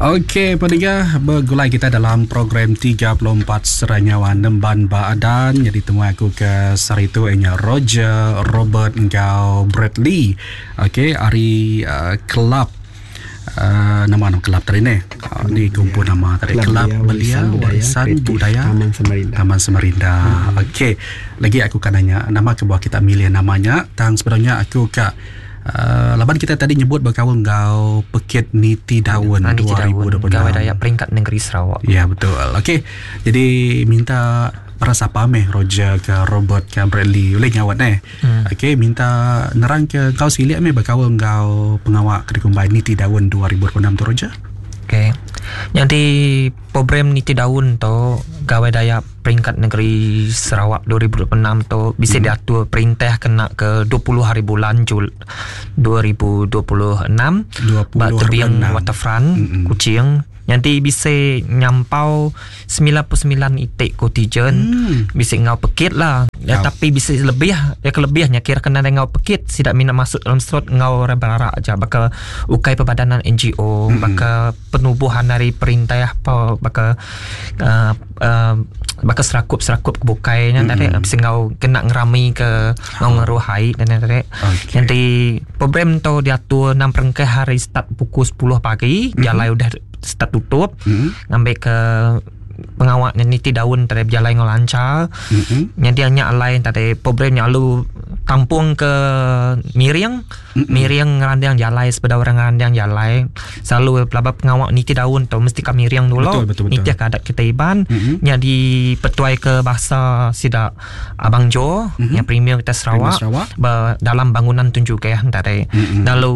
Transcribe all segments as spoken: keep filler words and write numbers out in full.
Okey, peniga begulai kita dalam program tiga puluh empat Seranyawa Nemban Baadan. Jadi temuai aku ke sehari tu ianya Roger, Robert enggau Bradley. Okey, hari uh, kelab uh, nama nama kelab tadi ni. Uh, ni kumpul nama tadi Kelab Belia Warisan Budaya Taman Samarinda. Taman Samarinda. Hmm. Okey, lagi aku kan nanya nama kebuah kita milih namanya. Tang sebenarnya aku kak Uh, laban kita tadi nyebut berkawan ngau Pekit Niti Daun dua ribu dua puluh enam. Gawai Dayak peringkat negeri Sarawak. Ya betul. Okey. Jadi minta para sapa meh Roger ke Robert ke Bradley boleh ngawat eh. Hmm. Okey, minta nerang ke kau silik meh berkawan ngau pengawak ke dikumbai Niti Daun dua ribu dua puluh enam tu Roger. Okey. Jadi program Niti Daun tu Gawai Dayak peringkat negeri Sarawak dua ribu dua puluh enam tu bisa hmm. diatur perintah kena ke dua puluh hari bulan Jul dua ribu dua puluh enam ba tebing Waterfront hmm. Kuching. Nanti bisa nyampau sembilan puluh sembilan itik kotijen hmm. bisa ngau pekit lah ya, tapi bisa lebih ya kelebihnya kira kena ngau pekit tidak minat masuk dalam slot ngau orang aja bakal ukai perbadanan N G O hmm. bakal penubuhan dari perintah apa bakal uh, uh, bakal serakup-serakup kebukainya hmm. tadi bisa ngau kena ngerami ke ngau ngeruhai dan tadi okay. Nanti program tu diatur enam perengkah hari start pukul sepuluh pagi hmm. jalan udah start tutup mm-hmm. ngambil ke pengawaknya Niti Daun tadi berjalan dengan lancar mm-hmm. Jadi hanya lain tadi programnya lalu tampung ke miring mm-hmm. miring ngerandang jalai sepeda orang ngerandang jalai selalu pelaba pengawak Niti Daun tu mesti ke miring dulu betul, betul, betul. Niti ke adat kita Iban mm-hmm. Jadi petuai ke bahasa sidak Abang Jo mm-hmm. yang premier kita Sarawak, Sarawak. Ber, dalam bangunan tunjuk ke tadi mm-hmm. Lalu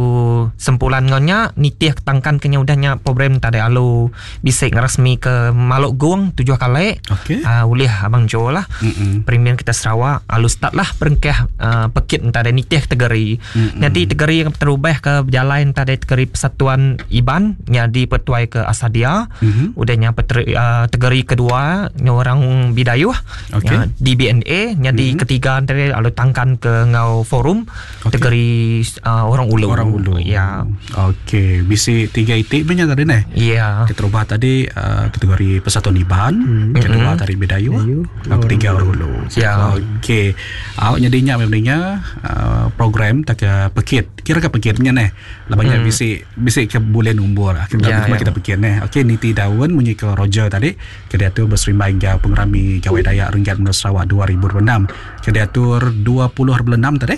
sempulan ngonya nitih tangkan kenya udahnya program tadi lalu bisa ngeresmi ke Maluk Gung tujuh kali okay. uh, oleh Abang Jo lah mm-hmm. premier kita Sarawak lalu start lah perengkah uh, pekit entah ada nitih tegeri mm-hmm. Nanti tegeri yang terubah ke berjalan entah ada tegeri Persatuan Iban yang dipertuai ke Asadia mm-hmm. udahnya peteri, uh, tegeri kedua nya orang Bidayuh okay. nya D B N A nya di mm-hmm. ketiga antara lalu tangkan ke ngau forum okay. tegeri uh, orang Ulu orang Ulu ya okey bisi tiga itik punya tadi neh ya kita ubah tadi uh, kategori Persatuan Iban mm-hmm. kedua tadi Bidayuh ketiga orang Ulu ya okey awak nyadinya memangnya Uh, program tak ke pekit kira ke pekitnya neh labanya hmm. bisi bisi ke bulan umbur lah kita ya, ya. ya. Kita pekit neh okey Niti Daun munyi ke Roger tadi ke diatur berserimbai hingga pengerami Gawai Dayak Renggat Menua Sarawak dua ribu dua puluh enam ke diatur dua puluh hari bulan enam tadi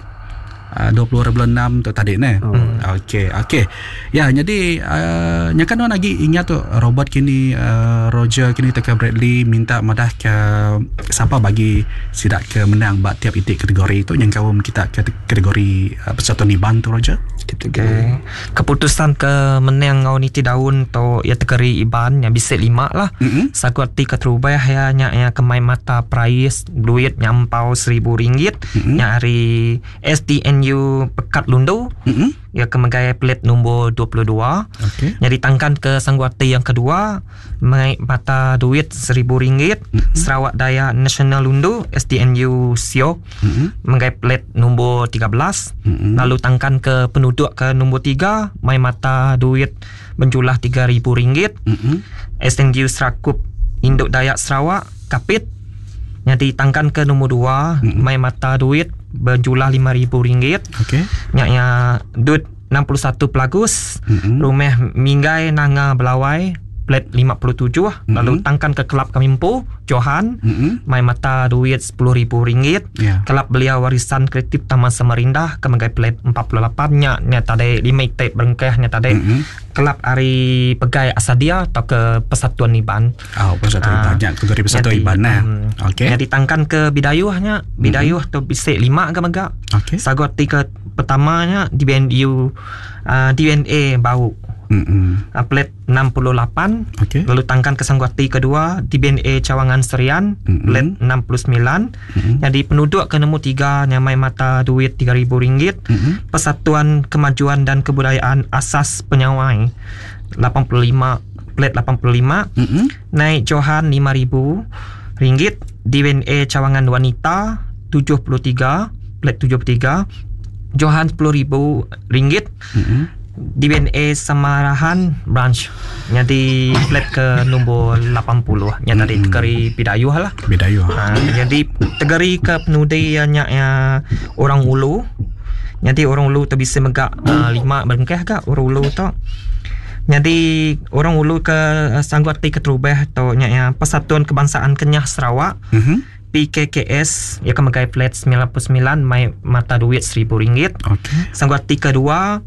Uh, dua puluh hari bulan enam tu tadi neh. Oh. Okey, okey. Ya, jadi uh, nya kan lagi ingat tu Robert kini uh, Roger kini teka Bradley minta madah ke siapa bagi sidak ke menang bak tiap itik kategori tu yang kaum kita kategori uh, Persatuan Iban tu Roger. Okay. Keputusan ke menang ngau Niti Daun tu ya tegeri Iban yang bisa lima lah. Mm-hmm. Saku arti keterubah ya nya ya kemai mata prais duit nyampau seribu ringgit mm-hmm. nya hari S D N U Pekat Lundu mm-hmm. ya kemegai pelit nombor dua puluh dua. Okey. Jadi tangkan ke Sangguati yang kedua mengai mata duit seribu ringgit mm-hmm. Sarawak Dayak National Lundu S D N U Siok mm-hmm. menggai pelit nombor tiga belas mm-hmm. Lalu tangkan ke penduduk ke nombor tiga mai mata duit menjulah tiga ribu ringgit mm-hmm. S D N U Serakup Induk Dayak Sarawak Kapit jadi tangkan ke nombor dua mm-hmm. mai mata duit berjulah lima ribu ringgit. Okey. Nya nya duit enam puluh satu Pelagus mm-hmm. Rumah Minggai Nanga Belawai plat lima puluh tujuh mm-hmm. Lalu tangkan ke kelab Kamimpo Johan mm-hmm. mai mata duit sepuluh ribu ringgit yeah. Kelab Belia Warisan Kreatif Taman Samarinda ke megai plat empat puluh lapan nya nya tadi lima itik berengkah nya tadi mm-hmm. Kelab Ari Pegai Asadia atau ke Persatuan Iban. Oh, Persatuan uh, Iban nya kategori Persatuan Iban nah. Um, Okey. Nya ditangkan ke Bidayuhnya, Bidayuh mm-hmm. tu bisik lima ke megak. Okey. Sagu arti ke pertamanya D B N U uh, D N A Bau. Mm-hmm. Uh, plat enam puluh lapan okay. Lalu tangkan ke Sangguati kedua D B N A Cawangan Serian mm-hmm. plat enam puluh sembilan mm-hmm. Jadi penduduk ke nombor tiga nyamai mata duit tiga ribu ringgit mm-hmm. Persatuan Kemajuan dan Kebudayaan Asas Penyawai lapan puluh lima plat lapan puluh lima mm-hmm. Naik Johan lima ribu ringgit D B N A Cawangan Wanita tujuh puluh tiga plat tujuh puluh tiga Johan sepuluh ribu ringgit mm-hmm. D B N A Samarahan Branch. Jadi plat ke nombor lapan puluh. Nya tadi mm-hmm. Tegeri Bidayuh lah. Bidayuh. Ha, jadi tegeri ke penudi nya ya, orang Ulu. Jadi orang Ulu tu bisa megak uh, lima berengkah gak orang Ulu tu. Jadi orang Ulu ke uh, sanggup arti keterubah tu nya ya, Persatuan Kebangsaan Kenyah Sarawak. Mm-hmm. P K K S ya ke megai plat sembilan puluh sembilan mai mata duit seribu ringgit. Okey. Sanggup arti kedua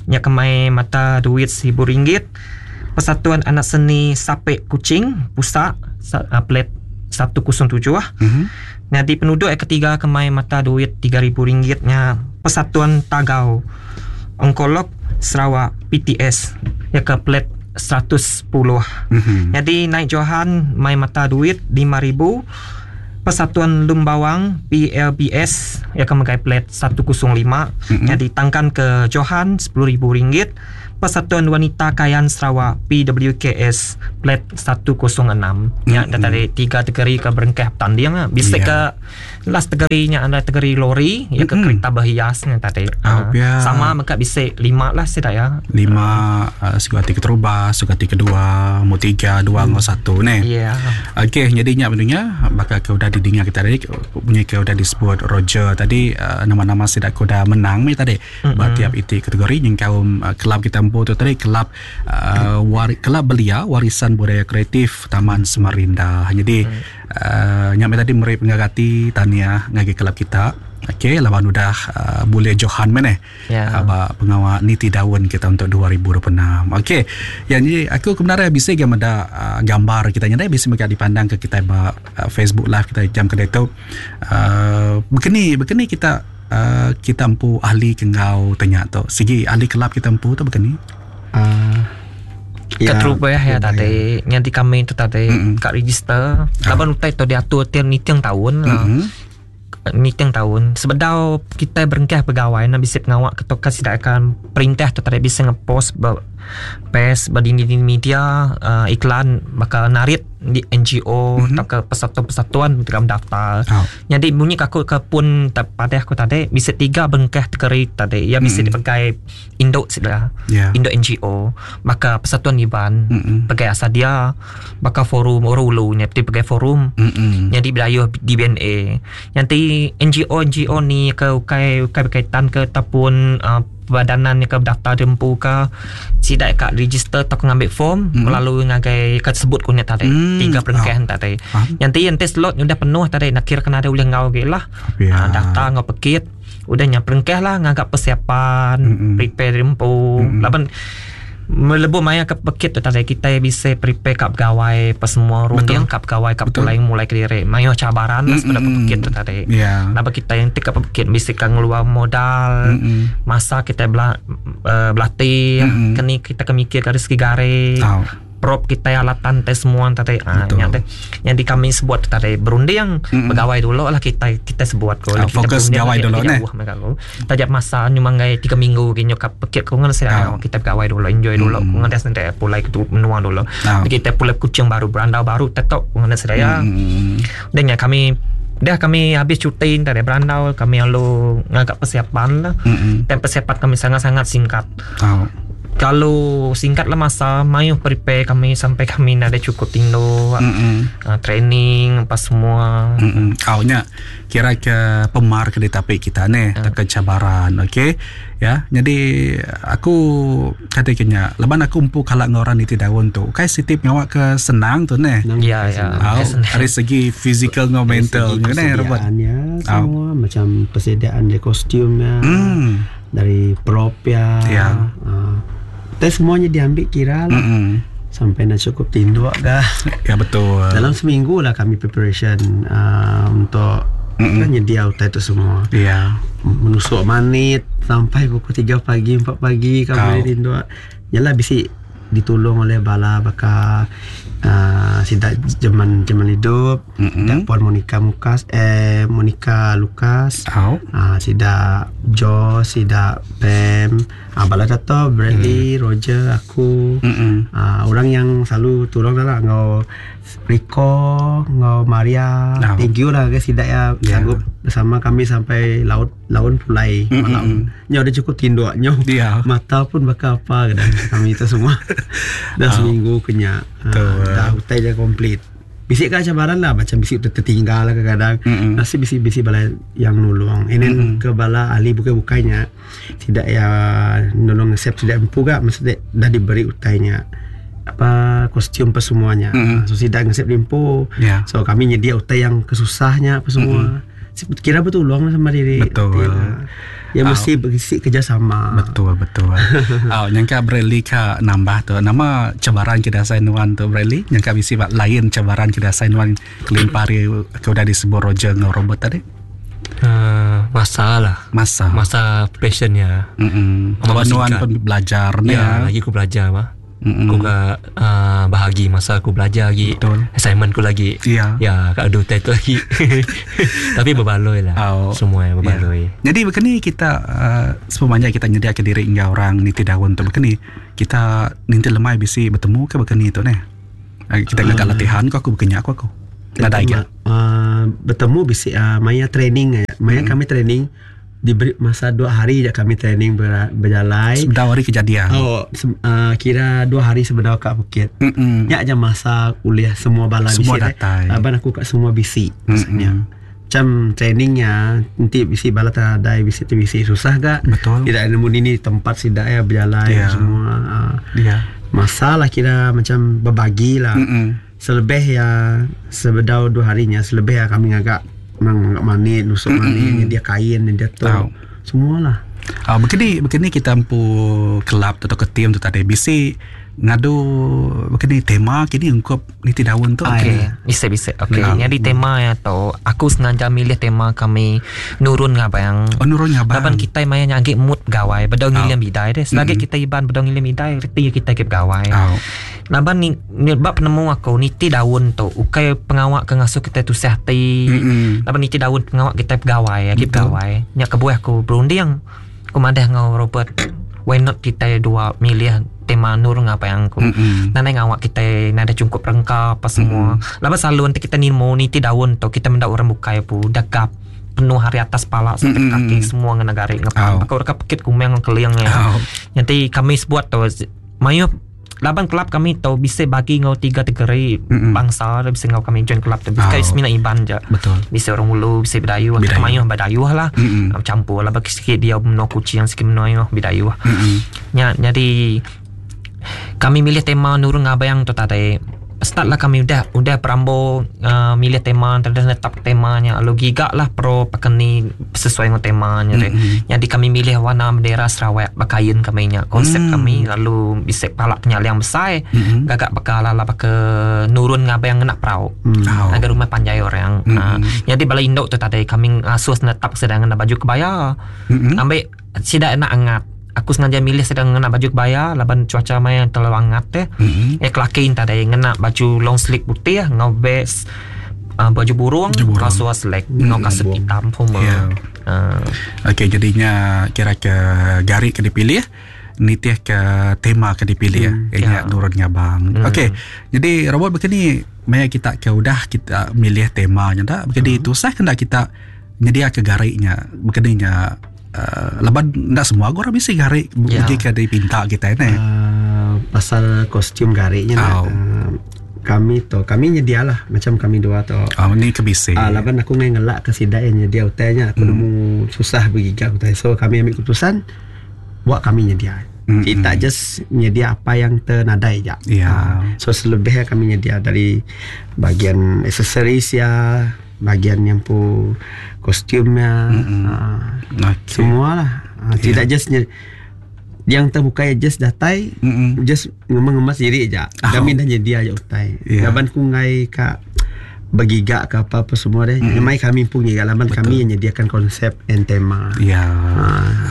nya ke mai mata duit seribu ringgit. Persatuan Anak Seni Sapek Kuching Pusat uh, plat seratus tujuh. Mm-hmm. Jadi penduduk yang ketiga ke mai mata duit tiga ribu ringgit nya Persatuan Tagau Onkolog Sarawak P T S ya ke plat seratus sepuluh. Mm-hmm. Jadi naik Johan mai mata duit lima ribu. Persatuan Lumbawang P L B S yang akan megai plat seratus lima. Mm-hmm. Jadi tangkan ke Johan sepuluh ribu ringgit. Persatuan Wanita Kayan Sarawak P W K S plat seratus enam. Mm-hmm. Ya tadi tiga tegeri ke berengkah pertanding lah. Bisa yeah. ke last tegerinya ada tegeri lori ya ke mm-hmm. kereta berhiasnya tadi. Oh, uh, ya. Sama maka bisa lima lah sih ya. Lima uh, sugati keterubah, sugati kedua, mu tiga, dua, hmm. satu ni. Ya. Yeah. Okey, jadinya benarnya bakal ke udah didengar kita tadi punya ke udah disebut Roger tadi uh, nama-nama sidak kuda menang ni tadi. Mm-hmm. Ba tiap iti kategori yang kaum uh, kelab kita empu tu tadi kelab uh, wari, kelab belia warisan budaya kreatif Taman Samarinda. Jadi mm. uh, nyampe tadi meri pengagati tania ngagi kelab kita. Okey, lawan udah uh, boleh Johan mana yeah. aba pengawal niti daun kita untuk dua ribu dua puluh enam. Okey, yang ni aku kebenaran bisa gambar uh, gambar kita nyadai bisa mereka dipandang ke kita ba uh, Facebook live kita jam kedai tu. Uh, begini begini kita uh, kita empu ahli kengau tanya tu. Segi ahli kelab kita empu tu begini. Uh, ya, keterubah ya tadi nyanti kami tu tadi mm-hmm. kat register. Laban utai tu diatur tiap niting tahun. Mm-hmm. Niting tahun sebedau kita berengkah pegawai nak bisa pengawak ketua tidak akan perintah tu tak bisa ngepost ber, pes berdini di media uh, iklan bakal narik di N G O mm-hmm. atau ke persatuan-persatuan dalam daftar. Oh. Jadi bunyi aku ke pun pada aku tadi bisa tiga bengkah tegeri tadi ya bisa mm-hmm. dipakai induk sudah. Yeah. Induk N G O maka persatuan Iban mm-hmm. pakai Asadia maka forum Orulu nya pakai forum mm-hmm. jadi Bidayuh D B N A. Nanti N G O N G O ni ke ukai ukai berkaitan ke ataupun uh, badanan ni ke daftar dempu ke sidak kat register atau ngambil form mm-hmm. melalui ngagai kat sebut kunya tadi mm. tiga perengkahan oh. tadi. Faham. Nanti yang test slot udah penuh tadi nak kira kena ada ulih ngau ge lah. Yeah. Ha, daftar ngau pekit udah nya perengkah lah ngagak persiapan mm-hmm. prepare dempu. Mm-hmm. Laban melebuh maya ke pekit tu tadi kita bisa prepare kap gawai pas semua runding kap gawai kap pulai mulai kediri mayo cabaran lah sebenarnya mm-hmm. pekit tu tadi. Yeah. Napa kita yang tik kap pekit bisa kan ngeluar modal mm-hmm. masa kita bela, uh, berlatih mm-hmm. kini kita kemikir dari segi garis oh. prop kita alatan tes semua tadi ah yang yang di kami sebut tadi berunding mm-hmm. pegawai dulu lah kita kita sebut ko oh, kita fokus gawai dulu ne tajak masa nyumanggai tiga minggu gini kap pekit ko ngan saya oh. kita pegawai dulu enjoy dulu mm-hmm. ko ngan sendiri pulai ke menua dulu oh. kita pulai kucing baru berandau baru tetap ko ngan saya mm-hmm. dan ya kami dah kami habis cuti dari berandau kami lalu ngagak persiapan lah mm-hmm. dan persiapan kami sangat-sangat singkat. Oh. Kalau singkatlah masa mayu prepare kami sampai kami ada cukup tindo mm-hmm. uh, training apa semua. Mm-mm. Awnya kira ke pemar ke ditapik kita ni uh. tak cabaran okey ya. Jadi aku kata kenya leban aku empu kalak ngoran di daun tu kai sitip ngawak ke senang tu ne. Ya ya. Dari segi fizikal ngau mental ne Robert. Semua macam persediaan dari kostumnya mm. dari prop ya. Ya. Uh. Dan semuanya diambil kira lah. Mm-mm. Sampai nak cukup tinduk dah. Ya betul. Dalam seminggu lah kami preparation uh, untuk Mm-mm. kan nyedia utai itu semua. Ya. Menusuk manit sampai pukul tiga pagi, empat pagi kami oh. tinduk. Yalah bisi ditolong oleh bala baka uh, sidak zaman zaman hidup mm-hmm. Puan Monica Mukas eh Monica Lucas oh. uh, sidak Jo, sidak Pam, uh, bala Dato, Bradley, mm. Roger, aku mm-hmm. uh, orang yang selalu tolong lah ngau Rico, ngau Maria oh. Thank you lah guys sidak ya yeah. sanggup bersama kami sampai laut laun pulai mm-hmm. malam. Nyo udah cukup tinduk nyo. Yeah. Mata pun bakal apa kadang kami itu semua. Dah oh. seminggu kenya. Ha, dah utai dah komplit. Bisik kan cabaran lah macam bisik tertinggal lah kadang-kadang. Mm-hmm. Nasib bisik-bisik bala yang nolong. Ini mm-hmm. ke bala ahli bukai-bukainya tidak ya nolong resep tidak empu gak maksudnya dah diberi utainya apa kostum apa semuanya. Mm-hmm. So tidak ngesep limpu. Yeah. So kami nyedia utai yang kesusahnya apa semua. Mm-hmm. Kira betul luang sama diri. Betul. Ya mesti berisi kerjasama. Betul betul. Oh, nyangka Bradley ka nambah tu nama cabaran kita saya nuan tu Bradley nyangka bisi lain cabaran kita saya nuan kelimpari ke udah disebut Roger dengan Robert tadi. Uh, masa lah masa masa passionnya. Mm-mm. Nuan pun belajar ni. Ya, lagi aku belajar mah. Mm-hmm. Aku ke uh, bahagi masa aku belajar lagi. Betul. Assignment aku lagi. Ya. Ya, kat ada title lagi. Tapi berbaloi lah. Oh. Semua yang berbaloi. Ya. Jadi begini kita uh, semuanya kita nyediakan diri hingga orang niti daun tu begini. Kita ninti lemai bisi bertemu ke begini tu neh. Kita uh, ngagak latihan kok aku begini aku aku. Nadai ke. Uh, bertemu bisi uh, maya training ya. Maya mm. kami training diberi masa dua hari je kami training ber, berjalan. Sebedau hari kejadian. Oh, se, uh, kira dua hari sebedau kat Bukit. Mm-mm. Nyak je masa kuliah semua bala semua bisi. Datai. Abang aku kat semua bisi. Maksudnya. Macam trainingnya nanti bisi bala tadai bisi tu bisi susah gak? Betul. Tidak nemu ini tempat sidak ya berjalan yeah. semua. Uh, yeah. Masalah kira macam berbagi lah. Mm-mm. Selebih ya sebedau dua harinya selebih ya kami ngagak mang manik, nusuk manik, dia kain, dia tu. Oh. Semualah. Ah, begini begini kita empu kelab atau ke tim tu tadi bisi ngadu begini tema kini ungkup niti daun tu. Okey, bisa bisa. Okey, nah. Jadi tema ya tu aku sengaja milih tema kami nurun ngabang. Oh, nurun ngabang. Laban kita maya nyagi mood gawai, bedau ngilim bidai deh. Selagi mm-hmm. kita iban bedau ngilim bidai, reti kita ke gawai. Oh. Laban ni, ni bab penemu aku niti daun tu ukai pengawak ke ngasuh kita tusah hati. Mm-hmm. Laban niti daun pengawak kita pegawai, lagi pegawai. Nyak kebuah aku berunding. Aku madah ngau Robert, why not kita dua milih tema nur ngapa yang aku. Mm-hmm. Nanai ngawak kita nada cukup rengka apa semua. Mm-hmm. Laban selalu nanti kita nimo niti daun tu kita mendak orang bukai pu dagap penuh hari atas pala sampai mm-hmm. kaki semua ngena garik ngepang. Oh. Aku reka pekit kumeng keliang ya. Oh. Nanti kami sebuat tu mayu laban kelab kami tu bisa bagi ngau tiga kategori mm-hmm. bangsa bisa ngau kami join kelab tu. Bisa oh. semina iban je. Betul. Bisa orang Ulu, bisa Bidayuh, mayu Bidayuh lah. Mm-hmm. Campur lah bagi sikit dia menua kucing sikit menua Bidayuh. Mm-hmm. Nya jadi kami milih tema nurun ngabang tu tadi. Start lah kami udah udah perambo uh, milih tema, terus netap temanya. Lalu gigak lah pro pakeni sesuai dengan temanya. Mm-hmm. Jadi kami milih warna bendera Sarawak bakain kami nya konsep mm. kami lalu bisa palak penyaliang besar mm-hmm. gagak bakal ala baka nurun ngabang ngena perau. Mm. Oh. Agar rumah panjai orang. Mm-hmm. Uh, jadi bala induk tu tadi kami asuh netap sedang ngena baju kebaya. Mm-hmm. Ambil sidak nak angat. Aku sengaja milih sedang ngena baju kebaya laban cuaca maya terlalu hangat teh. Mm-hmm. Eh kelakin tadi ngena baju long sleeve putih ngau vest uh, baju burung, kasuar selek, Mm-hmm. ngau kasut hitam pun. Yeah. Uh. Okey, jadinya kira ke garik ke dipilih nitih ke tema ke dipilih Mm, ya. ya. Nurun ngabang. Mm. Okey, jadi robot begini maya kita ke udah kita milih temanya dak begini Mm. tusah kena kita nyedia ke gariknya begininya. Uh, laban ndak semua orang bisa garik Ya. yeah. ke dipinta kita ni. Uh, pasal kostum gariknya Oh. uh, kami tu kami nyedialah macam kami dua tu. Oh, ni kebisi. Ah, laban aku ngai ngelak ke sidak yang nyedia utainya aku Hmm. nemu susah bergigak utai. So kami ambil keputusan buat kami nyedia. Mm-mm. Kita just nyedia apa yang ternadai je. Ya. Ah, so selebihnya kami nyedia dari bagian aksesoris ya, bagian yang pu kostumnya, Mm-mm. ah, Okey. semua lah. Ah, Ya. Tidak just nye, yang terbuka ya just datai, Mm-mm. just ngemas-ngemas diri je. Oh. Kami dah nyedia je utai. Ya. Laban ku ngai ka bergigak ke apa-apa semua deh. Mm. Memang kami pun gigak laban kami yang nyediakan konsep and tema. Ya.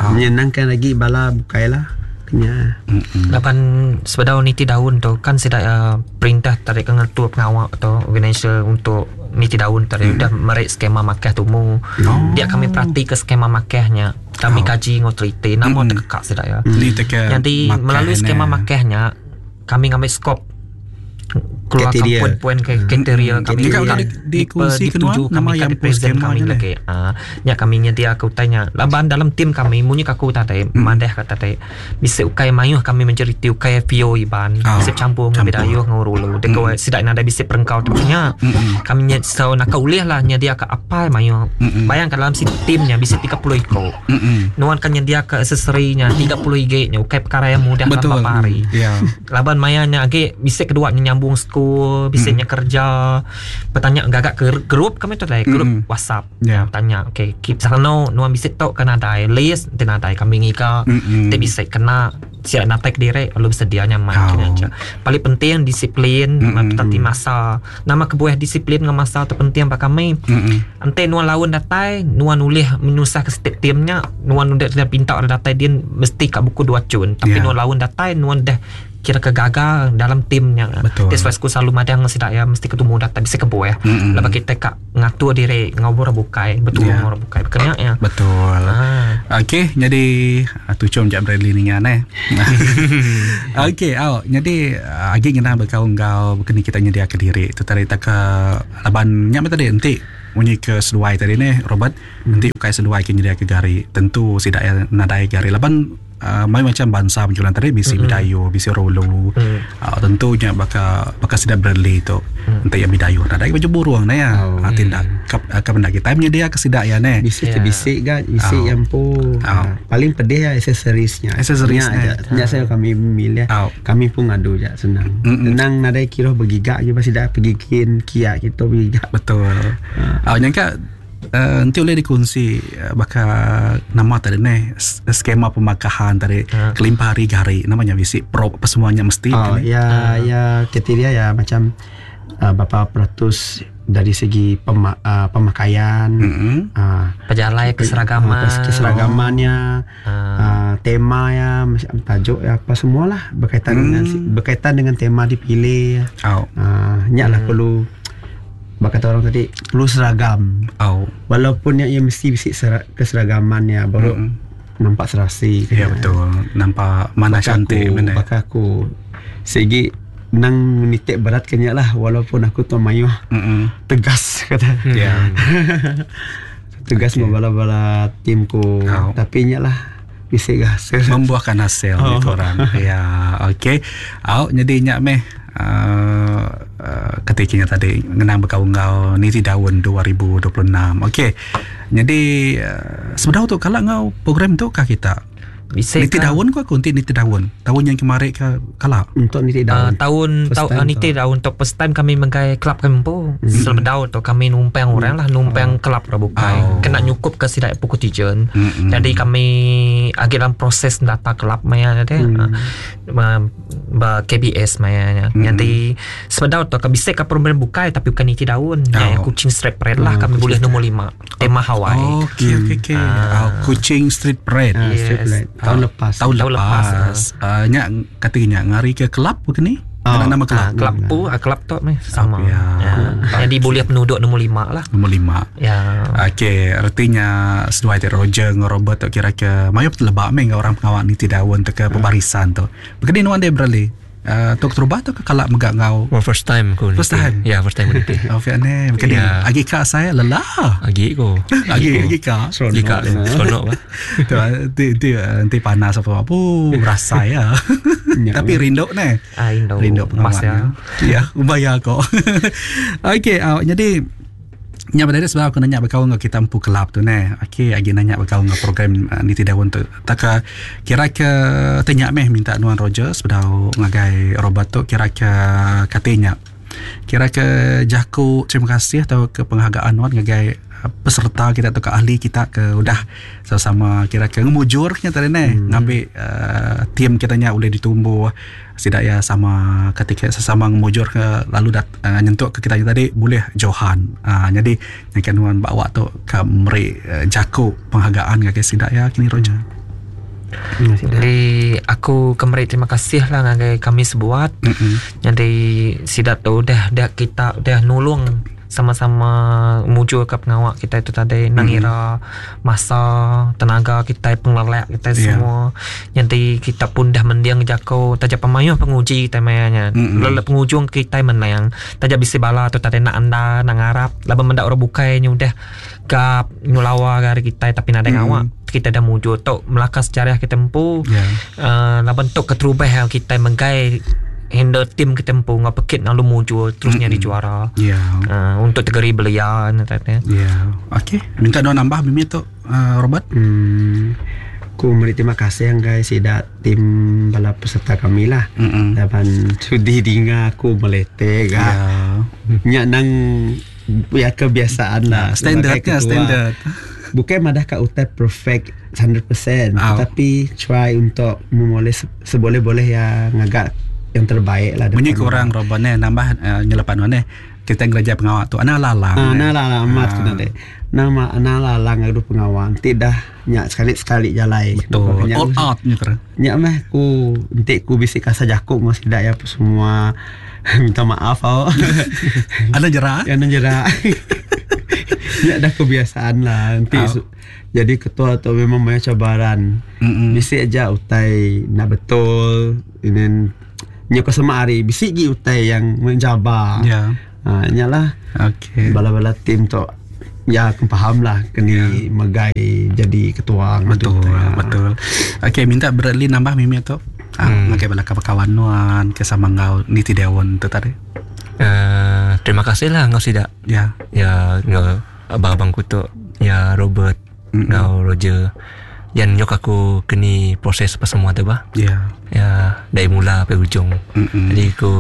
Ah, menyenangkan lagi bala bukai lah. Kenya. Mm-mm. Laban sebedau niti daun tu kan sidak uh, perintah tarik ke ngetua pengawak atau organizer untuk niti daun tadi Hmm. udah merik skema makah tumu. Oh. Dia kami perhati ke skema makahnya. Kami Oh. kaji ngau teliti nama Mm-mm. terkekak sidak ya. Ni teka Jadi makah melalui ni. skema makahnya kami ngambil skop keluar poin-poin ke kriteria kami ka dikongsi ke nama yang presiden kami lagi. Ah, nya kami nyedia ke utainya. Laban dalam tim kami munyi aku tadi madah kata tadi bisa ukai mayuh kami majoriti ukai F O Iban bisa campur dengan Bidayuh ngau Rulu. Dek sidak nadai bisa perengkau tu nya. Kami nyet so nak ulih lah nyedia ke apa mayuh. Bayangkan dalam si timnya bisa tiga puluh iko. Nuan kan nyedia ke aksesorinya tiga puluh ige nya ukai perkara yang mudah dalam beberapa hari. Laban mayanya age bisa kedua nyambung school, bisa nya kerja. Bertanya gagak ke grup kami tu tadi, grup mm-hmm. WhatsApp. Yeah. Tanya, okey, keep sana nuan bisa tok kan adai list ten adai kami ngika. Mm-hmm. Te bisa kena siap natai ke diri lalu bersedia nyaman oh. Kena aja. Paling penting disiplin, mm-hmm. tati masa. Nama kebuah disiplin dengan masa tu penting bagi kami. Mm-hmm. Ente nuan lawan datai, nuan ulih menusah ke setiap timnya, nuan udah dah pinta orang datai dia mesti kat buku dua cun. Tapi yeah. nuan lawan datai, nuan dah kira kegagal dalam timnya. Betul. That's why aku selalu madang sidak ya mesti ketemu data bisa kebuah. Mm-hmm. Lepas kita kak ngatur diri ngobrol bukai, betul yeah. ngobrol bukai. Kena ya. Betul. Ah. Okey, jadi tucum jap Bradley ni ngane. Okey, au jadi agi ngena berkaul enggau kena kita nyedia ke diri. Tu tadi tak ke laban nya tadi enti munyi ke seduai tadi ni Robert, mm. enti ukai seduai ke nyedia ke gari, tentu sidak ya nadai gari laban Uh, mai macam bangsa penjualan tadi bisi mm-hmm. Bidayu, bisi Rolo. Mm. Uh, tentunya baka baka sidak Bradley tu. Mm. Entah yang Bidayu nadai baju burung nah ya. Oh. Uh, tindak kap kap benda kita menyedia ke sidak ya ne. Bisi yeah. bisi ga bisi oh. yang pu. Oh. Paling pedih ya aksesorisnya. Aksesorisnya. Nya saya kami milih. Oh. Kami pun ngadu ja senang. Mm-mm. Senang nadai kira bergigak je pasti dah pergi kin kia kita bergigak. Betul. Ah uh. uh, nyangka Uh, nanti boleh dikongsi uh, bakal nama tadi ni skema pemakahan tadi ha. Kelimpah hari gari namanya bisi pro apa semuanya mesti oh, kan, ya ha. Ya kriteria ya macam uh, berapa peratus dari segi pema, uh, pemakaian mm-hmm. uh, pejalai keseragaman uh, keseragamannya oh. uh, tema ya tajuk ya apa semualah berkaitan mm. dengan berkaitan dengan tema dipilih oh. uh, nyaklah mm. perlu kata orang tadi perlu seragam. Oh. Walaupun yang ia mesti bisik sera, keseragamannya baru mm. nampak serasi. Ya betul. Nampak mana baka cantik aku, mana. Baka aku segi nang menitik berat kenyak lah walaupun aku tu mayuh mm-mm. tegas kata. Ya. Yeah. Tegas okay. membala-bala timku. Oh. Tapi nyak lah bisik hasil. Membuahkan hasil oh. Gitu orang. Ya, okey. Au jadi nyak meh Uh, uh, ketikanya tadi ngenang berkau-ngau niti daun dua ribu dua puluh enam. Okey. Jadi uh, sebenarnya tu kalau ngau program tu kah kita? Bisa niti daun ku aku niti niti daun. Tahun yang kemarin ke kala untuk niti daun. Uh, tahun tahun uh, niti daun untuk first time kami menggai kelab kami pun. Hmm. Selama daun tu kami numpang hmm. orang lah numpang oh. kelab ra bukai. Oh. Kena nyukup ke sidak pukul tijen. Hmm. Jadi kami agi dalam proses data kelab maya tadi. Hmm. Uh, ba K B S maya nya. Hmm. Jadi sebenarnya tu kami bisa ke program bukai tapi bukan niti daun. Oh. Ya, kucing street parade lah hmm. kami boleh nombor lima. Tema Hawaii. Okey okey okey. Kucing street parade. Uh, street parade. Tahun uh, lepas. Tahun, tahun lepas. lepas. Uh, nyak katanya ngari ke kelab begini? Oh, nama kelab. Uh, kelab tu, uh, kelab tu meh sama. Ya. Ya. Jadi boleh penduduk nombor lima lah. Nombor lima. Ya. Okey, artinya seduai ti Roger dengan Robert tu kira ke mayu lebak meh orang pengawal niti daun tu ke pembarisan tu. Begini nuan dia berali. Uh, tok terubah tu ke kalak megak ngau? Oh, first time ku. First time. Ya, yeah, first time ku niti. Oh, fiane, begini. Yeah. Agi kak saya lelah. Agi ko. Agi agi kak. Agi kak. Seronok bah. Tu nanti nanti nanti panas apa apa rasa ya. Tapi rindu ne. Ah, rindu. Rindu pengawal. Ya, ya bayar kok. Okey, uh, jadi nya pada sebab aku nanya berkawan dengan kita empu kelab tu ne. Okey, agi nanya berkawan dengan program uh, niti daun tu. Tak ke kira ke tanya meh minta nuan Roger sebedau ngagai Robert tu kira ke katanya. Kira ke jaku terima kasih atau ke penghargaan nuan ngagai peserta kita atau ke ahli kita ke udah sama-sama kira ke ngemujurnya tadi ne hmm. ngambil uh, tim kitanya boleh ditumbuh sidak ya sama ketika sesama ngemujur ke lalu dat, uh, nyentuk ke kita tadi boleh johan uh, jadi nyakan nuan bawa tu ke meri uh, jaku penghargaan ke sidak ya kini Roger. Hmm. Jadi aku kemari terima kasih lah ngagai kami sebuat. Mm-hmm. Jadi sidak tu dah dah kita dah nulung Sama-sama mujur ke pengawak kita itu tadi nangira masa tenaga kita pengelelak kita yeah. semua. Nanti kita pun dah mendiang jako tajak pemayuh penguji kita mayanya. Lalu pengujung kita menang. Tajak bisi bala tu tadi nak anda nak ngarap laban mendak orang bukai nyu dah gap nyulawa gari kita tapi nadai ngawak. Kita dah mujur tok melaka sejarah kita empu. Yeah. Uh, laban tok keterubah yang kita menggai handle tim kita empu ngau pekit lalu mujur terusnya mm-hmm. di juara. Ya. Yeah. Uh, untuk tegeri belia katanya. Ya. Yeah. Okey, minta doa nambah bimi tu uh, Robert. Hmm. Ku meri terima kasih yang guys sidak tim bala peserta kami lah. Mm-hmm. Laban sudi dinga aku melete ga. Yeah. Nyak nang ya kebiasaan lah. Standardnya standard. Bukan madah kat utai perfect seratus peratus oh. Tetapi try untuk memoleh seboleh-boleh yang agak yang terbaik lah. Bunyi kurang Robert ni nambah uh, nyelepan mana kita ngereja pengawak tu ana lalang. Ah, ana lalang amat kena deh. Nama ana lalang adu pengawak. Nanti dah nyak sekali-sekali jalai. Betul. All out ni kira. Nyak meh ku nanti ku bisik kasar jakuk mesti dak ya semua minta maaf au. Ada jerak? Ada jerak. Nyak dah kebiasaan lah nanti oh. su- jadi ketua tu memang banyak cabaran. Mm-mm. Bisik aja utai nak betul ini nyak sama hari bisik gi utai yang mencabar. Ya. Ha, nyalah. Okey. Bala-bala tim tu ya aku faham lah kena yeah. megai jadi ketua. Betul, tu, ya. Betul. Okey, minta Bradley nambah mimi tu. Ah, Hmm. ngagai bala kawan-kawan nuan ke sama ngau niti dewan tu tadi. Uh, terima kasih lah ngau sidak. Ya. Ya ngau abang-abangku tu ya Robert, Mm-mm. ngau Roger. Yang nyok aku kini proses apa semua tu bah. Ya. Ya dari mula sampai ujung. Mm-mm. Jadi aku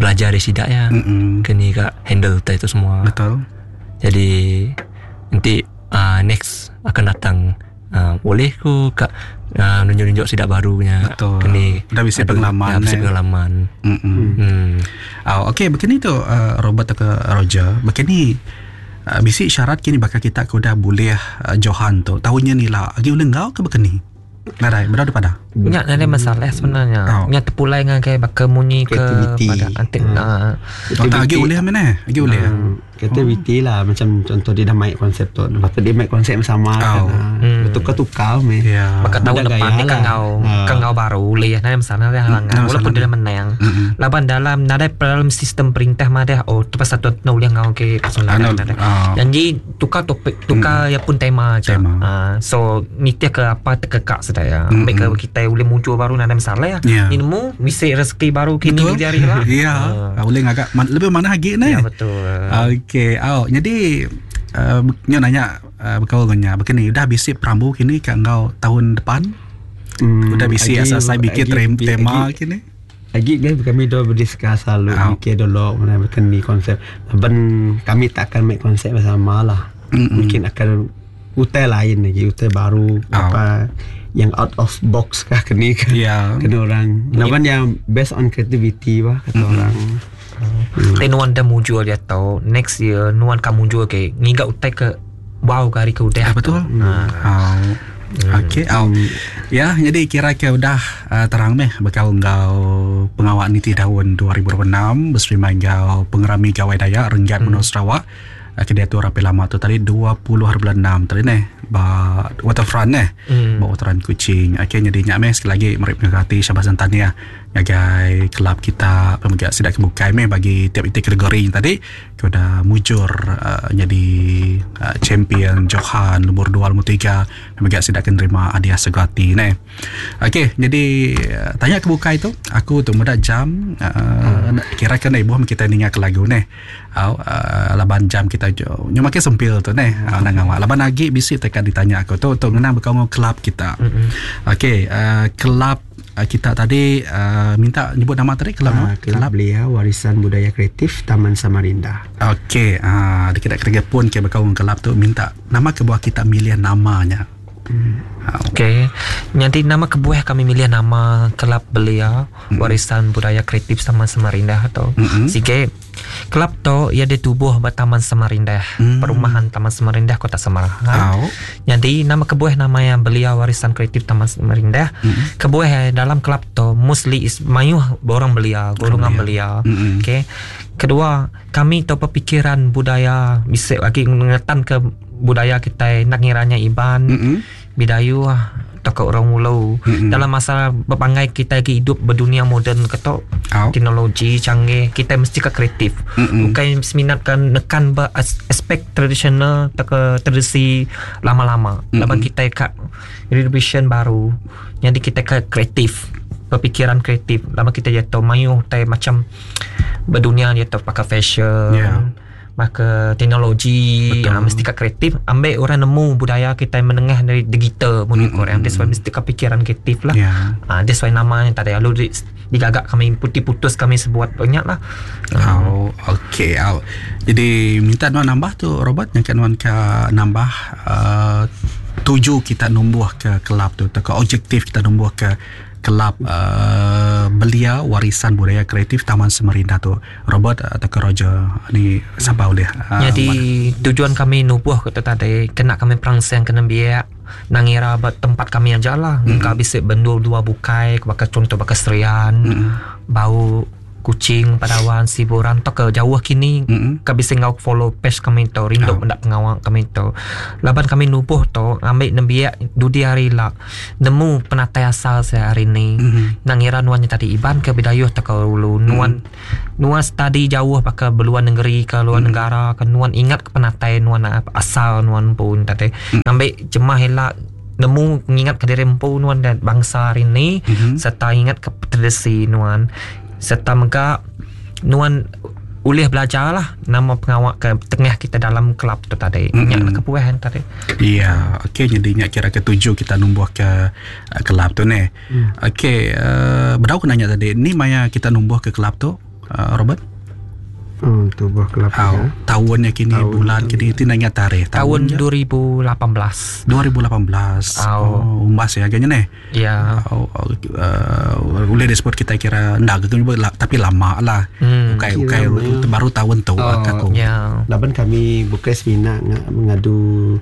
belajar dari sidak ya. Mm-mm. Kini kak handle tu itu semua. Betul. Jadi nanti uh, next akan datang uh, boleh ku kak uh, nunjuk-nunjuk sidak barunya. Betul. Kini Dah bisi aduh, pengalaman, Ya, bisi eh. pengalaman. Mm-mm. Hmm. Oh, okey, begini tu uh, Robert atau ke Roger. Begini uh, bisi syarat kini bakal kita ke udah boleh uh, Johan tu. Tahunnya ni lah. Agi uleng ngau ke begini? Nadai, berada pada. Nyak nadai masalah sebenarnya. Oh. Nyak terpulai dengan kayak bakal munyi ke Kreativiti. pada antik Hmm. uh, Oh, tak agi boleh mana? Agi boleh. Hmm, kreativiti lah macam contoh dia dah main konsep tu. Lepas tu dia main konsep sama kan. Oh. Hmm. Bertukar-tukar meh. Ya. Maka tahun Beda depan gaya ni kan lah. ngau Ha. kan ngau baru boleh nadai masalah nadai halangan Hmm, walaupun masalah. dia dah menang. Mm-mm. Laban dalam nadai dalam sistem perintah mah dah oh tu pasal tu nak boleh ngau ke pasal Ah, nadai no. nadai. Ah. Janji tukar topik tukar ya pun tema aja. Tema. Ah, so nitih ke apa terkekak sudah ya. Mm-mm. Ambil ke kita boleh muncul baru nadai masalah ya. Ya. Ni nemu misi rezeki baru kini Betul. di hari lah. Ya, Ah. boleh ngagak man, lebih mana lagi ni? Ya betul. Okey, oh, jadi uh, nyo nanya uh, bekal nya begini udah bisi perambu kini ke engkau tahun depan? Hmm, Udah bisi agi- asal bikin agi- trem- tema agi- kini? Agi guys kami dah berdiskus selalu Oh. mikir dulu mana berkeni konsep. Laban kami tak akan make konsep bersama lah. Mm-mm. Mungkin akan utai lain lagi, utai baru Oh. apa yang out of box kah keni kan. Ya. Kena orang. Laban yang based on creativity bah kata orang. Tapi nuan dah muncul dia tahu next year nuan kamu muncul ke ngigak utai ke wow ke hari ke udah Ya, betul. tu. Ha. Oh. Okey, oh. Ya, jadi kira-kira udah uh, terang meh bekal engkau pengawak niti tahun dua ribu dua puluh enam bersama engkau pengerami Gawai Dayak Renggat hmm. Menua Sarawak. Uh, Kedia tu rapi lama tu tadi dua puluh hari bulan enam tadi neh ba waterfront neh. Hmm. Ba waterfront Kuching. Okey, jadi nyak meh sekali lagi meri penghargaan Syabas dan tahniah ngagai kelab kita pemegang sidak kebukai meh bagi tiap itik kategori yang tadi kepada mujur uh, jadi uh, champion Johan nombor dua nombor tiga pemegang sidak akan terima hadiah segati neh. Okey, jadi uh, tanya kebukai tu aku tu muda jam uh, hmm. kira kena ibu kita ninga ke lagu neh. Au uh, laban jam kita jo. Nyo makin sempil tu neh. Uh, nang awak. Laban lagi bisi tekan ditanya aku tu tu ngena bekau ngau kelab kita. Mm-mm. Okey, uh, kelab uh, kita tadi uh, minta nyebut nama tadi kelab Ah, apa? Kelab Belia Warisan Budaya Kreatif Taman Samarinda. Okey, ah uh, kita kena pun ke bekau ngau kelab tu minta nama ke buah kita milih namanya. Hmm. Okey. Nanti nama kebuah kami milih nama Kelab Belia Mm. Warisan Budaya Kreatif Taman Samarinda atau Mm-mm. Sige. Kelab tu ia ditubuh ba Taman Samarinda, Mm. perumahan Taman Samarinda Kota Samarahan. Au. Jadi nama kebuah nama yang Belia Warisan Kreatif Taman Samarinda. Mm. Kebuah eh, dalam kelab tu mostly is mayuh orang belia, golongan belia. Mm-mm. Okey. Kedua, kami tu pemikiran budaya bisa lagi mengetan ke budaya kita nak ngiranya Iban, mm-hmm. Bidayuh atau ke orang Ulu. Mm-hmm. Dalam masa berpangai kita lagi hidup berdunia moden ketok, oh. teknologi canggih, kita mesti ke kreatif. Mm-hmm. Bukan seminatkan nekan ber aspek tradisional atau ke tradisi lama-lama. Mm-hmm. Laban kita kat revision baru. Jadi kita ke kreatif, berpikiran kreatif. Lama kita jatuh mayuh tai macam berdunia jatuh pakai fashion. Yeah. Maka teknologi ha, mesti kat kreatif ambil orang nemu budaya kita menengah dari digital mun mm-hmm. orang that's why mesti kat pikiran kreatif lah. Yeah. Ha, that's why namanya tadi lalu digagak kami putih-putus kami sebuat banyak lah. Oh, okey. Oh. Jadi minta nuan nambah tu Robert yang kan nuan ke nambah uh, tuju kita numbuh ke kelab tu atau ke objektif kita numbuh ke kelab uh, belia warisan budaya kreatif Taman Samarinda tu Robert atau ke Roger ni siapa boleh uh, jadi mana? Tujuan kami nubuh ke tadi kena kami perangsang kena biak nangira tempat kami aja lah mm-hmm. Engkau bisa bendul dua bukai bakal contoh bakal Serian mm-hmm. bau Kucing, Padawan, Siburan atau ke jauh kini mm-hmm. ke bisa ngau follow page kami tu rindu oh. Mendak pengawal kami tu laban kami nubuh tu ambil nembiak dudi hari lah nemu penatai asal saya hari ni mm-hmm. Nangira nuannya tadi Iban ke Bidayuh atau ke Ulu nuan mm-hmm. nuan tadi jauh pakai beluan negeri ke luar mm-hmm. negara ke nuan ingat ke penatai nuan asal nuan pun tadi mm-hmm. Ambil jemah elak nemu ingat ke diri empu nuan dan bangsa hari ni mm-hmm. serta ingat ke tradisi nuan serta mega nuan boleh belajar lah nama pengawak ke tengah kita dalam kelab tu tadi. Mm-hmm. Nyak nak kepuahan tadi. Iya, okey jadi nyak kira ketujuh kita numbuh ke uh, kelab tu ni. Mm. Okey, uh, berau aku nanya tadi, ni maya kita numbuh ke kelab tu, uh, Robert? Hmm, tubuh kelab oh, ya. Tahunnya kini, tahun, bulan kini, itu nanya tarikh. Tahun, tahun dua ribu lapan belas. dua ribu lapan belas. Oh, oh umbas ya agaknya nih. Ya. Oh, oh, uh, boleh disebut kita kira ndak gitu tapi lama lah. Hmm. Ukai ukai baru tahun tu oh, aku. Ya. Laban kami bukan semina mengadu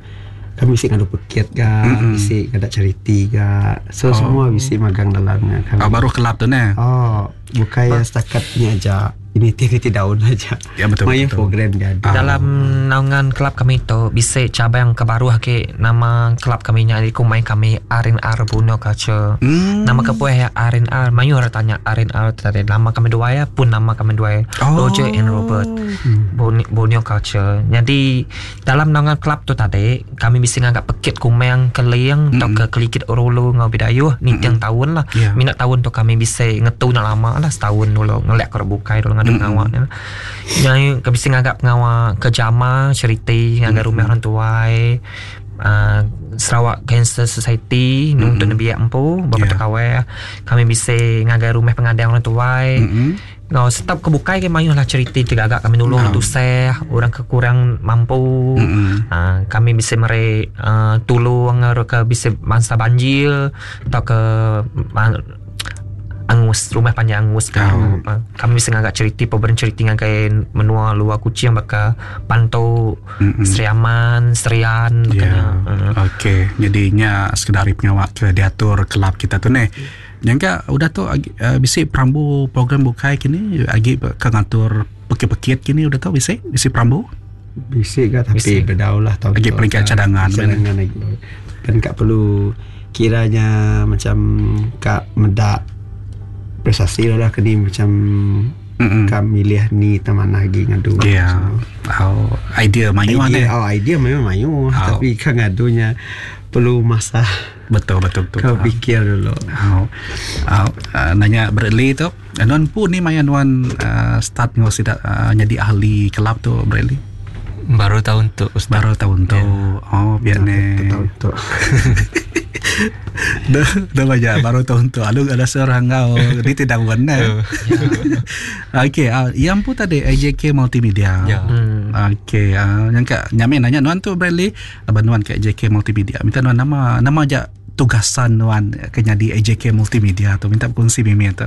kami mesti ngadu pekit ke, mm-hmm. mesti ngadu charity ke. So oh. semua mesti magang dalamnya kami. Oh, baru kelab tu nih. Oh, bukan ya setakatnya aja. Ini titi daun aja. Ya betul. Main betul. Program dia ada. Dalam naungan kelab kami tu bisa cabang ke baru ke nama kelab kami nya iku main kami R and R Borneo Culture. Hmm. Nama kepueh ya R and R. Mayu orang tanya R and R tadi nama kami dua ya pun nama kami dua ya. Oh. Roger and Robert. Hmm. Borneo Culture. Jadi dalam naungan kelab tu tadi kami bisa nganggap pekit kumeng keliang hmm. atau ke kelikit orolo ngau bidayuh ni tiang hmm. tahun lah. Yeah. Minat tahun tu kami bisa ngetu nak lama lah setahun dulu ngelak ke bukai dulu ngadu pengawak mm-hmm. Yang kami bisa ngagak pengawak ke jama charity ngagak mm-hmm. rumah orang tuai uh, Sarawak Cancer Society mm-hmm. untuk nebiak empu beberapa yeah. kawai kami bisa ngagak rumah pengadang orang tuai mm-hmm. Ngau setap kebukai ke mayuh lah charity tegagak kami nulung no. tuseh orang kekurang mampu mm-hmm. uh, kami bisa mere uh, tulung ke bisa mangsa banjir atau ke uh, angus rumah panjang angus kan. Oh. Kami bisa ngagak cerita program cerita ngagai menua luar Kucing bakal Pantau mm-hmm. Seriaman Serian yeah. uh. Okey jadinya sekedar pengawak ke diatur kelab kita tu ni. Yang ka udah tu uh, bisi perambu program bukai kini agi ke ngatur pekit-pekit kini udah tu bisi bisi perambu bisi ke tapi berdaulah tau agi peringkat cadangan cadangan lagi dan kak perlu kiranya macam kak medak prestasi lah kini macam mm-hmm. kami milih ni taman lagi ngadu. Ya. Yeah. Oh, idea mayu ada. Oh, idea memang mayu oh. Tapi kan ngadunya perlu masa. Betul betul betul. Kau fikir dulu. Oh. Oh, uh, nanya Bradley tu, nuan pun ni maya nuan uh, start ngau sidak uh, jadi ahli kelab tu Bradley. Baru tahun tu. Ustaz. Baru tahun tu. Yeah. Oh, biar ni. Tahun tu. Dah, dah banyak baru tahun tu. Lalu ada seorang kau ni tidak benar. Okey, uh, yang pun tadi A J K Multimedia. Ya. Hmm. Okey, uh, yang kat nyamin nanya nuan tu Bradley, abang nuan kat A J K Multimedia. Minta nuan nama nama aja tugasan nuan ke jadi A J K Multimedia tu minta berkongsi mimi tu.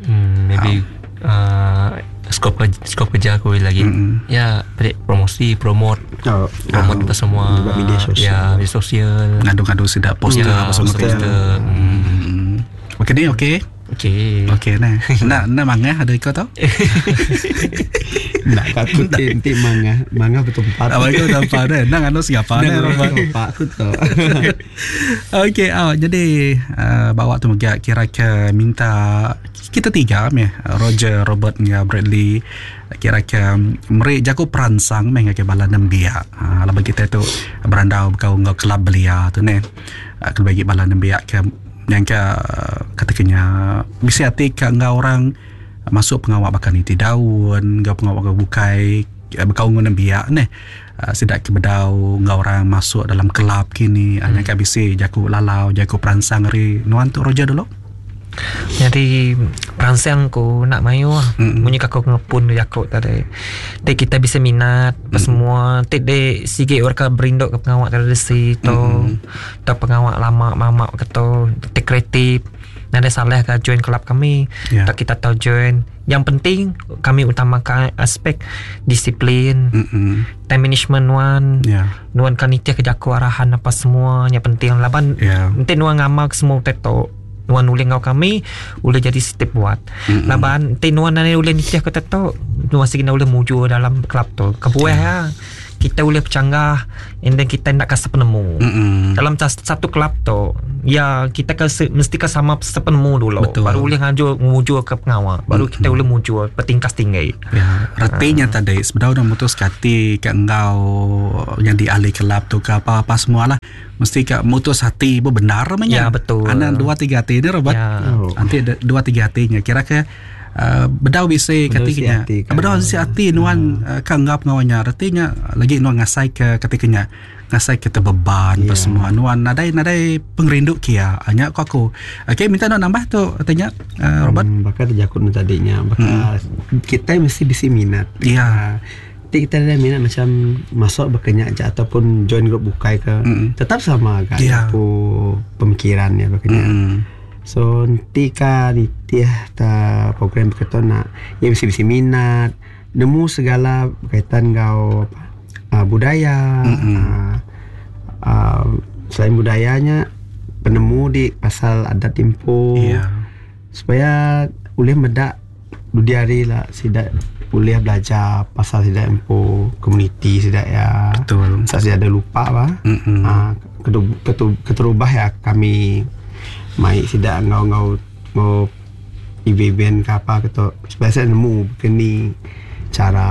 Hmm, maybe uh, skop skop kerja aku lagi. Mm-hmm. Ya, promosi, promote. Oh, promote oh, semua media sosial. Ya, media sosial. Ngadu-ngadu sudah poster ya, apa semua poster. Hmm. Okey ni okey. Okey. Okey nah. Nak nak mangah ada ikut tau? Nak aku nanti mangah, mangah bertempat. Abang kau tempat deh. Nak anu siapa ni Pak aku tu. Okey, oh, jadi uh, bawa tu megak kira ke minta kita tiga meh Roger, Robert dengan Bradley kira ke meri jago peransang meh ke bala nembiak. Ha laban kita tu berandau kau ngau kelab belia tu ne. Kalau bagi bala nembiak ke yang ke katakanya bisi hati ke ngau orang masuk pengawak bakal niti daun ngau pengawak bukai bekau ngau nembiak ne. Sidak ke bedau ngau orang masuk dalam kelab kini hmm. Hanya bisi jago lalau jago peransang ri nuan tu Roger dulu. Jadi peransang ku nak mayu lah. Mm-hmm. Munyi aku ngepun jakut tadi. Dek kita bisa minat apa mm-hmm. semua. Tek dek sikit orang berinduk ke pengawak tradisi tu. Mm-hmm. Atau pengawak lama mamak keto, tek kreatif. Nada salah ke join kelab kami. Yeah. Tak kita tahu join. Yang penting kami utamakan aspek disiplin, mm-hmm. time management nuan. Yeah. Nuan kan nitiah ke jaku arahan apa semua yang penting laban. Yeah. Nanti nuan ngamal semua tetok. Nuan ulih ngau kami ulih jadi step buat. Mm-hmm. Laban ti nuan nane ulih nitiah ke tetok nuan sigi ulih muju dalam kelab tu. Kebuah ya. Kita ulih bercanggah and then kita nak kasih penemu. Mm-hmm. Dalam satu kelab tu ya kita ke, mesti ke sama sepenemu dulu. Betul. Baru ulih ngaju muju ke pengawal. Baru mm-hmm. kita ulih muju bertingkas tinggi. Ya, retinya ha. Tadi sebenarnya dah mutus hati ke engkau yang di ahli kelab tu ke apa-apa semualah. Mesti ke mutus hati benar namanya. Ya betul. Anak dua tiga hati ni Robert. Ya. Oh. Nanti dua tiga hatinya kira ke Uh, bedau bisa ketikanya. Bedau si hati nuan uh, kan ngap ngawanya artinya lagi nuan ngasai ke ketikanya ngasai ke terbeban yeah. Semua nuan nadai nadai pengerindu kia hanya aku aku. Okey minta nuan nambah tu artinya uh, Robert. Hmm, bakal terjakut tadinya bakal hmm. kita mesti bisi minat. Ya. Yeah. Uh, kita ada minat macam masuk berkenyak je ataupun join grup bukai ke mm. tetap sama kan yeah. Aku pemikirannya berkenyak. Mm. So nanti ka nitiah ta program berkata nak ya bisi-bisi minat nemu segala berkaitan kau apa uh, budaya mm-hmm. uh, uh, selain budayanya penemu di pasal adat timpo yeah. Supaya boleh medak dudiari lah sidak boleh belajar pasal sidak empo komuniti sidak ya. Betul. Saya ada lupa bah. Mm-hmm. Uh, ketu, keterubah ya kami mai sidak ngau-ngau ngau event ke apa keto supaya saya nemu begini cara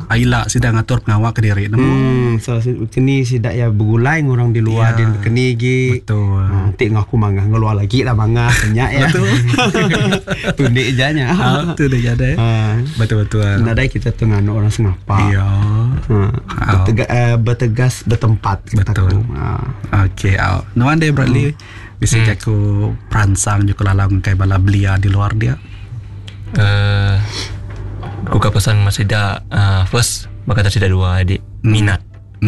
aila sidak ngatur pengawak ke diri nemu. Hmm, so kini sidak ya bergulai ngurang di luar ya, din kini gi. Betul. Ha, nanti ngaku mangah ngeluar lagi lah mangah banyak ya. Betul. Tundik janya. Ha, tundik janya. Ha. Betul betul. Nadai kita tu nganu orang sengapa. Iya. Ha. Bertega, uh, bertegas bertempat. Betul. Ha. Okey, au. Nuan deh Bradley. Hmm. Bisa hmm. aku peransang juga lalang kai bala belia di luar dia. Eh, uh, aku pesan masih dah uh, first bakal tidak dua adik hmm. minat.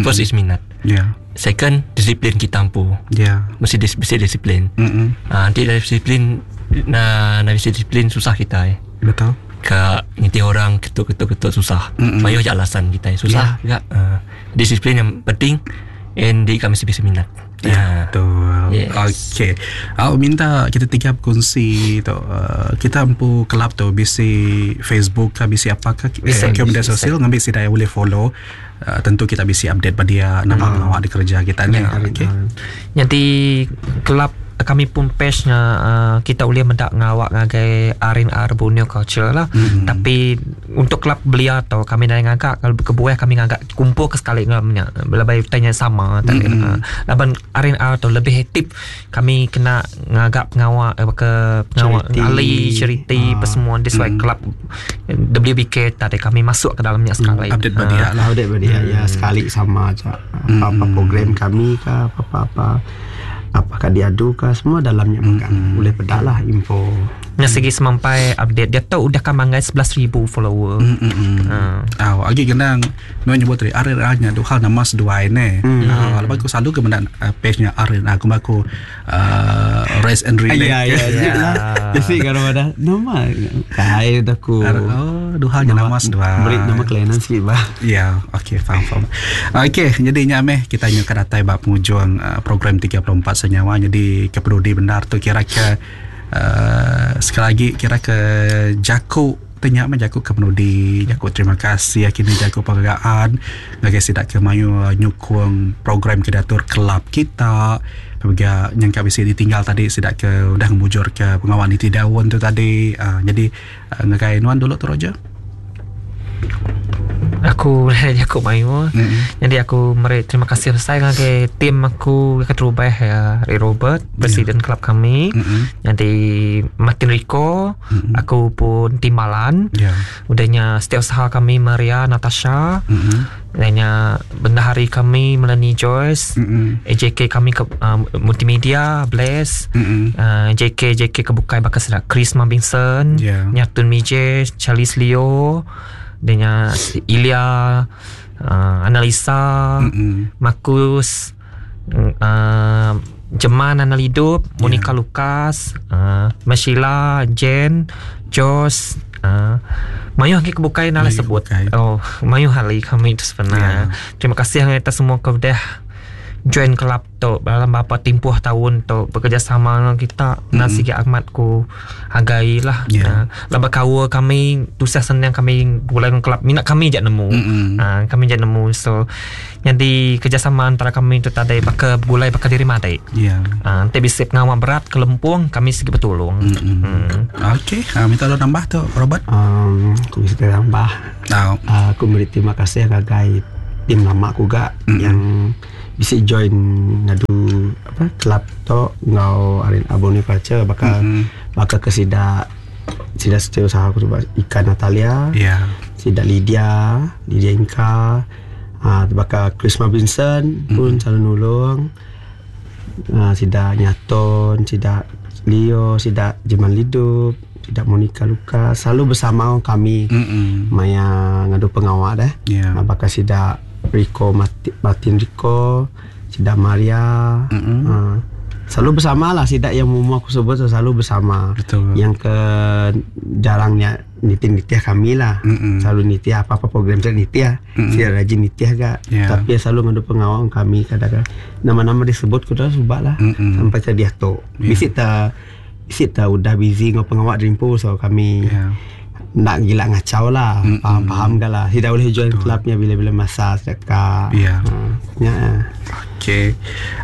First is minat. Yeah. Second disiplin kita ampu. Yeah. Mesti dis, mesti disiplin. Mm-hmm. Uh, nanti dari disiplin na na disiplin susah kita eh. Betul. Ka nginti orang ketuk-ketuk-ketuk susah. Mm-hmm. Mayuh je alasan kita eh. Susah yeah. juga. Uh, disiplin yang penting and di kami mesti minat. Ya, betul. Yes. Okey. Aku minta kita tiga berkongsi tu. Uh, kita empu kelab tu bisi Facebook ke bisi apa ke eh, ke media sosial ngambil si daya boleh follow. Uh, tentu kita bisi update pada dia nama hmm. awak di kerja kita ni. Ya, Okey. Nanti kelab kami pun page-nya uh, kita boleh mendak ngawak ngagai R and R Borneo Culture lah. Mm-hmm. Tapi untuk kelab belia atau kami dah ngagak kalau kebuah kami ngagak kumpul ke sekali ngamnya lebih tanya sama tak Mm-hmm. uh, laban R and R tu lebih aktif kami kena ngagak pengawak eh, ke pengawak ahli charity ah. Persemua this why Mm. kelab W B K tadi kami masuk ke dalamnya sekali. Mm. Update bagi uh, lah update bagi mm. ya sekali sama aja apa-apa Mm. program kami ke apa-apa apakah diadu ke semua dalamnya makan Mm-hmm. boleh pedak lah info. Yang segi semampai update dia tahu udah kamanggai sebelas ribu follower. Mm-mm. Ha. Ah, lagi genang no nyebut tadi R and R-nya tu hal nama seduai ne. Mm. Ah, lepas aku selalu ke benda uh, page-nya R and R aku aku uh, rest and relax. Ya ya ya. Jadi kalau ada nama kai aku. Oh, dua hal nama seduai. Beri nama kelainan sikit bah. Ya, okey faham faham. Okey, jadi nyameh kita nyu ke datai bab penghujung uh, program tiga puluh empat Senyawa jadi kepeduli benar tu kira-kira Uh, sekali lagi kira ke jaku tanya mah jaku ke penudi, jaku terima kasih kini jaku penghargaan ngagai sidak ke mayu nyukung program ke diatur kelab kita. Bagi yang kami bisi ditinggal tadi sidak ke udah ngemujur ke pengawan niti daun tu tadi. Uh, jadi uh, ngagai nuan dulu tu Roger. Aku jaku mayu. Mm-hmm. Jadi aku meri terima kasih besar ngagai tim aku ke terubah ya Ray Robert, presiden yeah. kelab kami. Mm-hmm. Jadi Martin Rico, mm-hmm. aku pun timbalan. Yeah. Udahnya setiausaha kami Maria Natasha. Mm-hmm. Udahnya bendahari kami Melanie Joyce, mm-hmm. A J K kami ke uh, multimedia Bless, mm-hmm. uh, J K J K kebukai bakal sedak Chris Mabinson, yeah. Nyatun Mije, Charles Leo, dengan Ilya, uh, Analisa, mm-hmm. Marcus, uh, Jeman Analidup, Monica yeah. Lucas, uh, Mashila, Jen, Josh, uh, mayu lagi kebukai nala sebut. Oh, mayu hali kami itu sebenarnya. Yeah. Terima kasih kita semua kepada join kelab tu dalam beberapa tempoh tahun tu bekerjasama dengan kita. Mm-hmm. Nasi Ahmad ku hargai lah. Yeah. Uh, laba kawa kami tusah senang kami bulan kelab minat kami jak nemu. Mm-hmm. Uh, kami jak nemu. So jadi kerjasama antara kami tu tadi bakal gulai bakal diri madai. Yeah. Uh, nanti bisa pengawal berat kelempung kami segi bertolong. Mm-hmm. Mm. Okey, uh, minta lo tambah tu Robert. Um, aku bisa tambah. Oh. Uh, aku beri terima kasih ngagai tim lama aku gak mm-hmm. yang bisa join ngadu apa kelab tu ngau arin abone culture bakal mm-hmm. bakal ke sida sida setiausaha aku cuba Ikan Natalia, yeah. sida Lydia Lydia Inka, ah bakal Chris Mabinson mm-hmm. pun selalu nulung, ah sida Nyaton, sida Leo, sida Jeman Lidup, sida Monica Luka selalu bersama kami mm-hmm. maya ngadu pengawal dah, yeah. bakal sida Rico Martin Rico, Sida Maria, mm-hmm. uh, selalu bersama lah. Sida yang mau aku sebut selalu bersama. Betul. Yang ke jarangnya nitih-nitih kami lah. Mm-hmm. Selalu nitih apa-apa program saya nitih. Mm-hmm. Sida rajin nitih gak. Yeah. Tapi selalu ngadu pengawal kami kadang-kadang nama-nama disebut kuda subak lah. Mm-hmm. Sampai jadi tu. Yeah. Bisik ta, bisik ta udah busy ngau pengawal rimpu so kami. Yeah. Nak gila ngacau lah, mm-hmm. faham-faham dah lah. Tidak boleh join clubnya bila-bila masa sedekah. Ya. Yeah. Ya. Okey.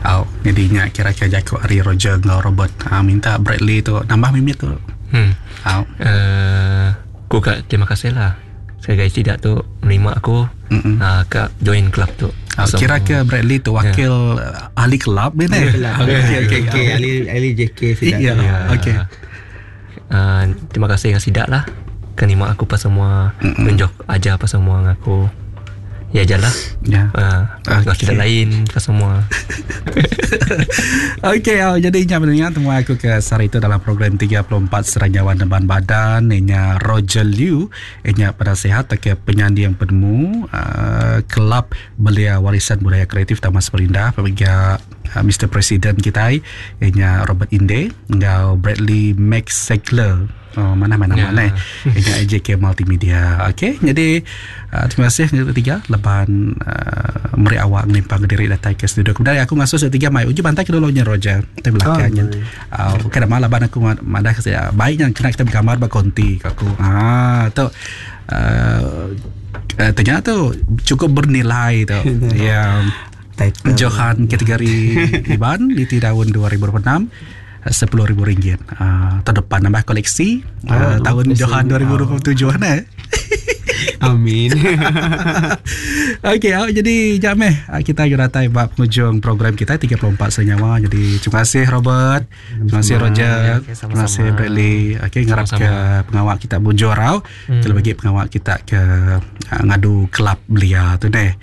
Oh, jadinya kira-kira jaku Ari Roger dengan Robert. Ha, minta Bradley tu nambah mimit tu. Hmm. Oh. Uh, aku kak terima kasih lah. Sekali tidak tu menerima aku. Mm-hmm. Uh, kak join club tu. Oh, so, kira ke Bradley tu wakil yeah. ahli club ni ni. Okey okey okey ahli ahli J K sidak. Ya. Okey. Uh, terima kasih dengan sidak lah. Kenima aku pas semua mm-mm. tunjuk aja apa semua aku ya jalah ya uh, okay. Tidak lain pas semua. Okey, oh, jadi nya mendengar temu aku ke sehari itu dalam program tiga puluh empat Seranjawan Deban Badan nya Roger Liu nya penasehat ke penyanding penemu uh, Kelab Belia Warisan Budaya Kreatif Taman Samarinda pemiga uh, Mister President kita nya Robert Inde ngau Bradley Max Segler. Oh, mana-mana yeah. mana ini A J K Multimedia. Okey, jadi uh, terima kasih ketiga leban uh, meri awak ngelimpang diri datang ke studio. Kemudian aku ngasuh setiga mai uji bantai ke dulunya Roger. Kita belakangnya. Oh, uh, kada malah ban aku madah saya baiknya kena kita bergambar ba konti aku. Ah, tu uh, uh, ternyata tu cukup bernilai tu. Ya. Yeah. Johan kategori Iban di tahun dua ribu dua puluh enam sepuluh ribu ringgit. Uh, tahun depan nambah koleksi oh, uh, tahun Johan dua ribu dua puluh tujuh eh. Amin. Okey, oh, jadi jap meh kita datai bab penghujung program kita tiga puluh empat Senyawa. Jadi terima kasih Robert, terima kasih Roger, ya, okay, terima kasih Bradley. Okey, ngarap ke pengawal kita bujur rau. Hmm. Terlebih lagi pengawal kita ke uh, ngadu kelab belia tu deh.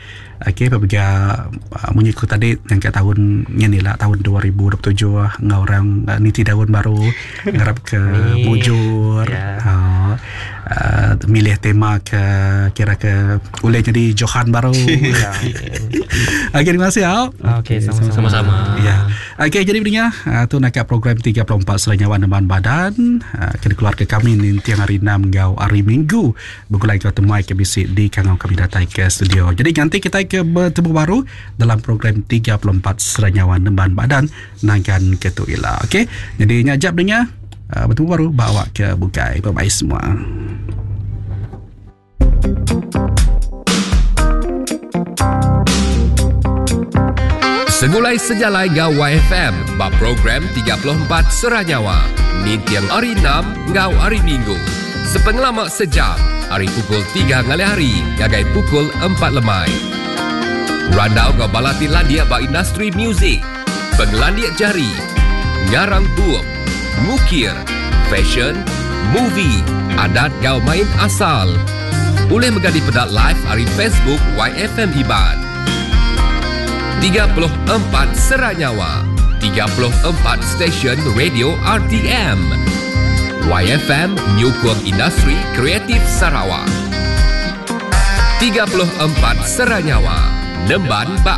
Okey, apabila uh, munyi ku tadi yang kat tahun ni lah tahun dua ribu dua puluh tujuh ngau orang uh, niti daun baru ngarap ke mujur. Yeah. Uh, uh, milih tema ke kira ke boleh jadi Johan baru. Okey, terima kasih. Okey, sama-sama. Sama-sama. Ya. Okey, jadi pendengar, uh, tu nak program tiga puluh empat Selanyawan Depan Badan uh, kena keluar ke kami ni tiang hari enam ngau hari Minggu. Bergulai ke temuai ke bisik di kangau kami datang ke studio. Jadi nanti kita ke bertemu baru dalam program tiga puluh empat Seranyawan Nemban Badan nangkan ketu ila. Okey. Jadi nyajap dengar Uh, bertemu baru bawa ke bukai. Bye bye semua. Segulai sejalai ngau Y F M ba program tiga puluh empat Seranyawa. Nintiang hari enam ngau hari Minggu. Sepengelama sejam, hari pukul tiga ngalih hari ngagai pukul empat lemai. Randau ngau balati landia ba industri muzik, pengelandia jari, ngarang bup, ngukir, fashion, movie, adat ngau main asal. Boleh megadi pedak live hari Facebook Y F M Iban. tiga puluh empat Seranyawa, tiga puluh empat stesen radio R T M. Y F M Nyukung Industri Kreatif Sarawak. tiga puluh empat Seranyawa, Nemban Bak.